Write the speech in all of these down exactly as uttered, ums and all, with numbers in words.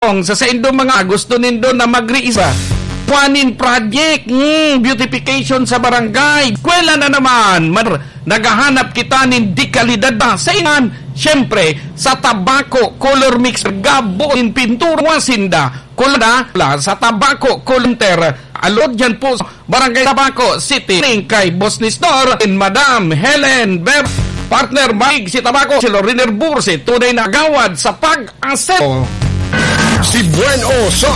Kung sa saindo mga gusto nindo na magriisa, kuanin project, hmm, beautification sa barangay, eskwela na naman, mar-, naghahanap kita nin dekalidad ba? Sa inan, siyempre, sa Tabaco Color Mix, gabo in pintura, sinda, kulada, la, sa Tabaco Color Mixer, alod yan po, Barangay Tabaco City, ning kay Boss Nestor and Madam Helen Ber-, partner, maig si Tabaco, si Loriner Burse, tunay na gawad sa pag-aseo. Si Bueno sa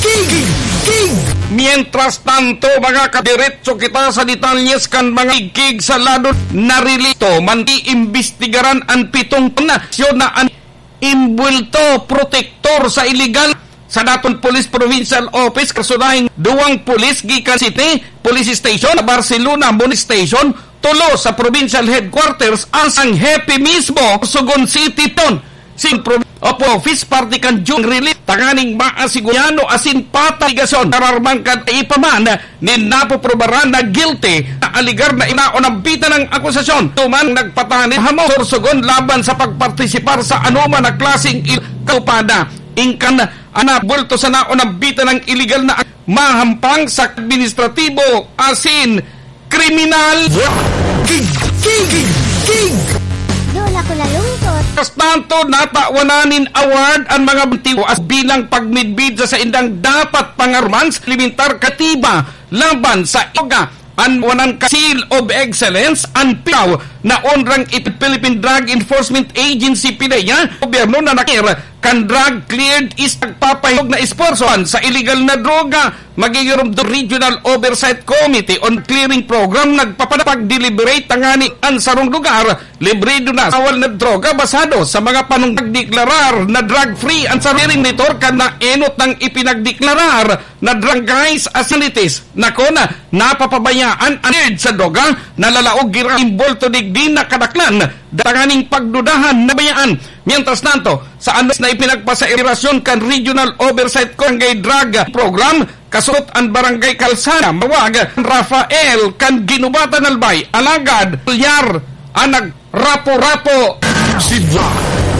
Kig! Kig! Mientras tanto, mga kadiretso kita sa detalyes kan mga igkig sa lado na relito, manti-imbestigaran an pitong tunasyon na an imbwelto, protektor sa iligal sa daton Police Provincial Office, kasunahing duwang pulis gikan City Police Station, Barcelona Municipal Station, tulo sa Provincial Headquarters, ang sang hepe mismo, Sorsogon City Town, sin Pro-, Opo, Office, parte kan June Relief, tanganing maasigurado asin pataligason, kararman kan ipaman, nin napoprobaran na guilty na aligar na inaon ang bita ng akusasyon. Tuman nagpatani hamo sorsogon laban sa pagpartisipar sa anoman na klaseng il-, kaupada. Ingkan, anak, bulto sa naon ang bita ng iligal na mahampang sa administratibo asin kriminal. King, king, king, king! Doon ako nalungkot. Kas tanto, natawanan nin award ang mga bantiwas bilang pagmidbid sa saindang dapat pangaruman sa elementar katiba laban sa droga. An wanan ka Seal of Excellence, an pinaw na onrang ipid Philippine Drug Enforcement Agency, PDEA, gobyerno na nakir kan drug cleared is nagpapahilog na espuwersohan sa iligal na droga. Magigiromdom Regional Oversight Committee on Clearing Program nagpapanapag-deliberate tangani an sarong lugar librido na sa awal na droga basado sa mga panong nagdeklarar na drug-free an sarong monitor kan naenot nang ipinagdeklarar na drug guys as facilities. Nako na, napapabayaan an sa droga, nalalaog gira imbulto digdi na kadaklan, datanganing pagdudahan na bayaan. Mientras tanto, sa anos na ipinagpasa irasyon kan Regional Oversight Barangay Drug Program, kasot an Barangay Calzada, mawag Rafael kan Ginubatan Albay, alagad, Pulyar, an nag-, Rapo-rapo. Sidwa.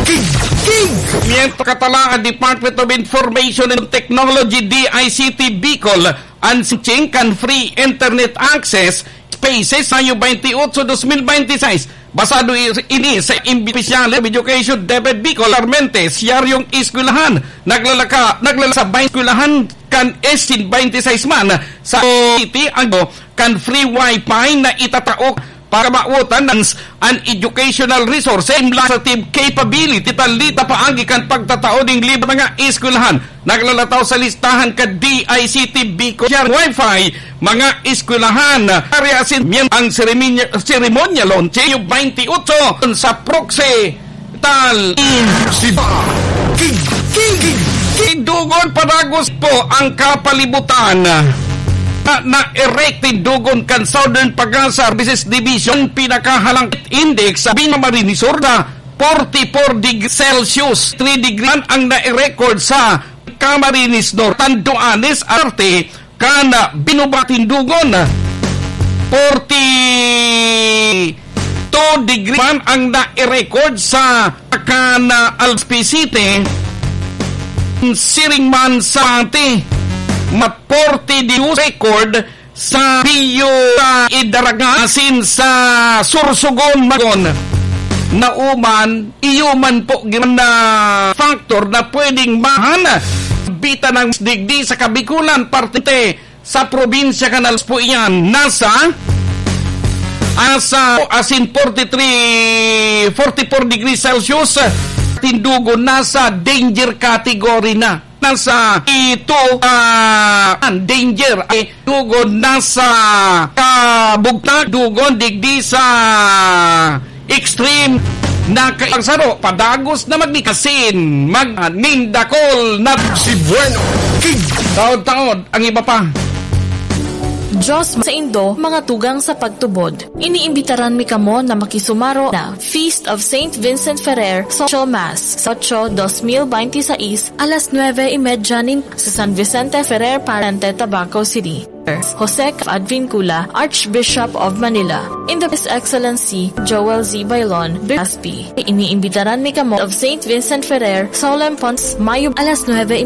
King, king. Mientras katalaan, Department of Information and Technology, D I C T Bicol, an sinching kan free internet access spaces, Mayo twenty-eight, twenty twenty-six. Basado i-, ini sa Opisyal of Education, DepEd Bicol, Armentes, Yaryong Eskwelahan, naglalaka-, naglalasa bayan eskwelahan kan S twenty-six man sa City, ang kan free wifi na itatao para maotan an, an educational resource, administrative capability, talita paagi kan pagtatao ning libre mga eskwelahan. Naglalataw sa listahan kan D I C T Bicol Share Wi-Fi, mga eskwelahan. Ari asin miyem-, ang seremonya-, seremonya launching twenty-eight sa Proxy Tal. Siba. King, king, king, king. Tindugon padagos po ang kapalibutan na, na-erect tindugon kan Southern Pag-asa Services Division, pinakahalangkit index sa Binamarinisor na forty-four degrees Celsius, three degree man ang na-record sa Camarines Norte, Tanduanes, Arte, kan Binuba tindugon, forty-two degree man ang na-record sa kan Alspi City, siring man sa Pati, mat forty degree record sa Pio, sa Idaraga, asin sa Sorsogon, Magon. Nauman, iyo man po giran na factor na pwedeng mahan, bita ng digdi sa Kabikulan, parte sa probinsya kan Alspi iyan, nasa, asa, asin forty-three, forty-four degrees Celsius, tindugon nasa danger category na. Nasa ito, ah, ang danger ay tindugon nasa kabugtak, dugon digdi sa extreme na kaipagsaro, padagos na magdikasin, mag-, nindakol na si Bueno King. Taod-taod ang iba pa. Diyos saindo, mga tugang sa pagtubod. Iniimbitaran mi kamo na makisumaro na Feast of Saint Vincent Ferrer Social Mass, Ocho, dos mil bente seis, alas nuebe y media nin sa San Vicente Ferrer, Parente, Tabaco City. Jose Advincula, Archbishop of Manila, in the His Excellency Joel Z. Bailon, Bispi. Iniimbitaran mi kamo of Saint Vincent Ferrer, Solemn Pons, Mayo, alas nuebe y